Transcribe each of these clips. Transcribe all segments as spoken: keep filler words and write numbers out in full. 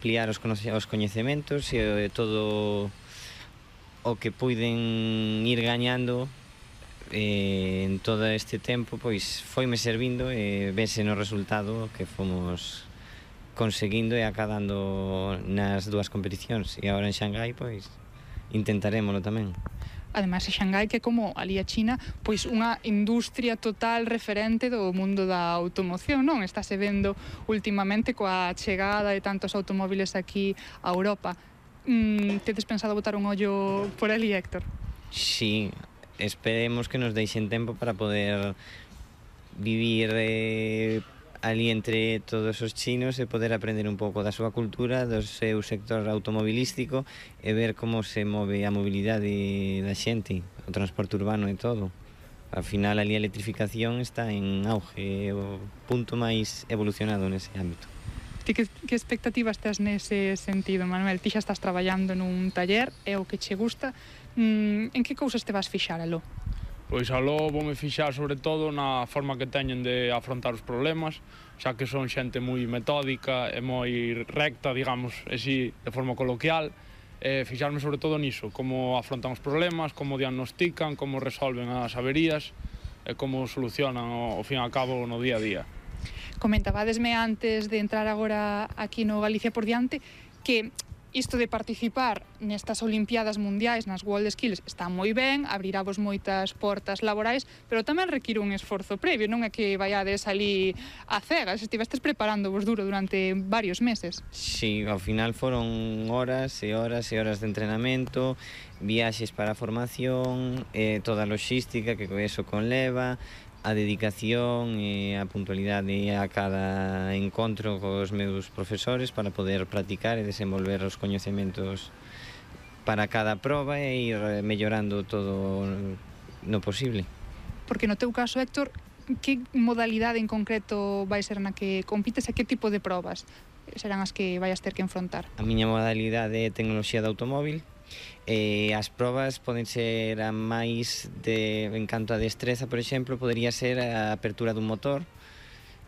ampliar os, os coñecementos e todo o que puiden ir gañando eh, en todo este tempo, pois foime servindo e vese no resultado que fomos conseguindo e acadando nas dúas competicións, e agora en Xangai pois intentarémolo tamén. Ademais, a Xangai, que é como ali a China, pois unha industria total referente do mundo da automoción, non? Estáse vendo ultimamente coa chegada de tantos automóviles aquí a Europa. Mm, tedes pensado botar un ollo por ali, Héctor? Sí, esperemos que nos deixen tempo para poder vivir eh, ali entre todos os chinos e poder aprender un pouco da súa cultura, do seu sector automobilístico e ver como se move a mobilidade da xente, o transporte urbano e todo. Ao final, ali a electrificación está en auge, o punto máis evolucionado nese ámbito. Ti que, que expectativas tes nese sentido, Manuel? Ti xa estás traballando nun taller, é o que che gusta. Mm, en que cousas te vas fixar, aló? Pois aló voume fixar sobre todo na forma que teñen de afrontar os problemas, xa que son xente moi metódica e moi recta, digamos, así, de forma coloquial, e fixarme sobre todo niso, como afrontan os problemas, como diagnostican, como resolven as averías e como solucionan ao fin e ao cabo no día a día. Comentabadesme antes de entrar agora aquí no Galicia por diante que isto de participar nestas Olimpiadas Mundiais, nas World Skills, está moi ben, abrirá vos moitas portas laborais, pero tamén require un esforzo previo, non é que vaiades ali a cegas, estivestes preparándovos duro durante varios meses. Sí, ao final foron horas e horas e horas de entrenamento, viaxes para a formación, eh, toda a logística que eso conleva, a dedicación e a puntualidade a cada encontro cos meus profesores para poder practicar e desenvolver os coñecementos para cada proba e ir mellorando todo no posible. Porque no teu caso, Héctor, que modalidade en concreto vai ser na que compites e que tipo de probas serán as que vayas ter que enfrontar? A miña modalidade é tecnoloxía de automóvil. Eh, as probas poden ser a máis de, en canto a destreza, por exemplo, podería ser a apertura dun motor,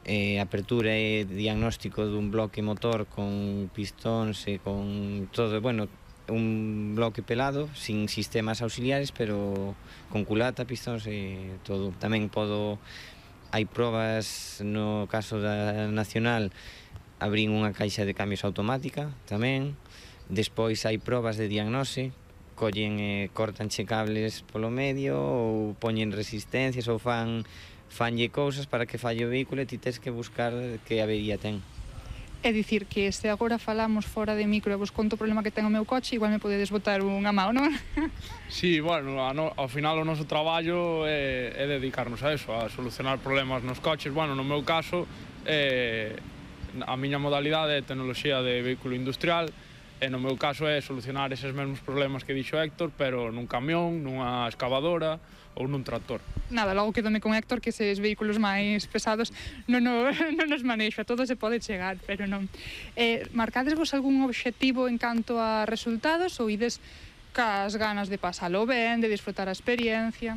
eh, apertura e diagnóstico dun bloque motor con pistóns e con todo, bueno, un bloque pelado, sin sistemas auxiliares, pero con culata, pistóns e todo. Tamén podo, hai probas, no caso da nacional, abrín unha caixa de cambios automática tamén. Despois hai probas de diagnose, collen e cortanche cables polo medio ou poñen resistencias ou fan fanlle cousas para que falle o vehículo e ti tes que buscar que avería ten. É dicir que se agora falamos fora de micro e vos conto o problema que ten o meu coche, igual me podedes botar unha mão, non? Sí, bueno, a no, ao final o noso traballo é, é dedicarnos a eso, a solucionar problemas nos coches. Bueno, no meu caso, eh, a miña modalidade é tecnoloxía de vehículo industrial, e no meu caso é solucionar eses mesmos problemas que dixo Héctor, pero nun camión, nunha excavadora ou nun tractor. Nada, logo quedome con Héctor que eses vehículos máis pesados non, no, non nos manexo, a todo se pode chegar, pero non. Eh, marcadesvos algún obxectivo en canto a resultados ou ides cas ganas de pasalo ben, de disfrutar a experiencia?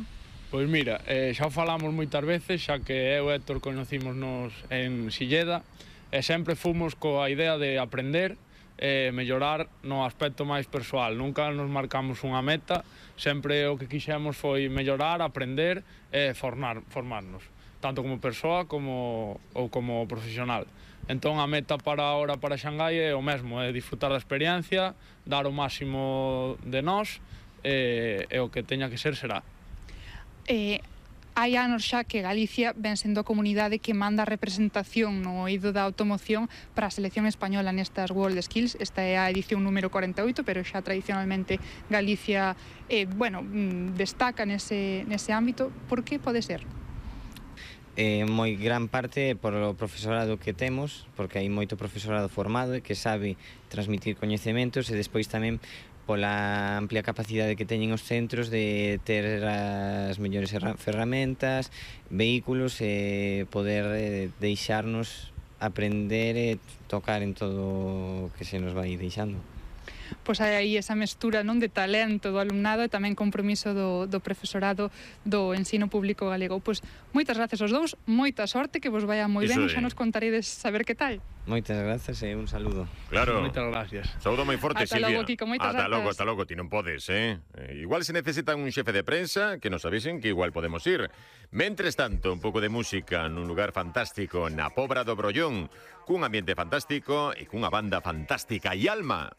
Pois mira, eh, xa o falamos moitas veces, xa que eu e Héctor conocímonos en Silleda, e sempre fomos coa idea de aprender e mellorar no aspecto máis persoal. Nunca nos marcamos unha meta, sempre o que quixemos foi mellorar, aprender e formar, formarnos, tanto como persoa como, ou como profesional. Entón a meta para ahora para Xangai é o mesmo, é disfrutar da experiencia, dar o máximo de nós e, e o que teña que ser será. Eh, hai anos xa que Galicia ven sendo a comunidade que manda a representación no eido da automoción para a selección española nestas World Skills. Esta é a edición número cuarenta e oito, pero xa tradicionalmente Galicia eh, bueno, destaca nese, nese ámbito. Por que pode ser? Eh, moi gran parte por o profesorado que temos, porque hai moito profesorado formado e que sabe transmitir coñecementos, e despois tamén pola amplia capacidade que teñen os centros de ter as mellores ferramentas, vehículos e poder eh, deixarnos aprender e tocar en todo o que se nos vai deixando. pois hai aí esa mestura non de talento do alumnado e tamén compromiso do, do profesorado do ensino público galego. Pois moitas gracias aos dous, moita sorte, que vos vaya moi ben, xa nos contaredes saber que tal. Moitas grazas e un saludo. Claro. Moitas gracias. Saúdo moi forte, Ata Silvia. logo, Kiko, moitas Ata grazas. logo, ata logo, ti non podes, eh? eh? Igual se necesitan un xefe de prensa, que nos avisen que igual podemos ir. Mentres tanto, un pouco de música nun lugar fantástico, na Pobra do Brollón, cun ambiente fantástico e cunha banda fantástica. E Alma.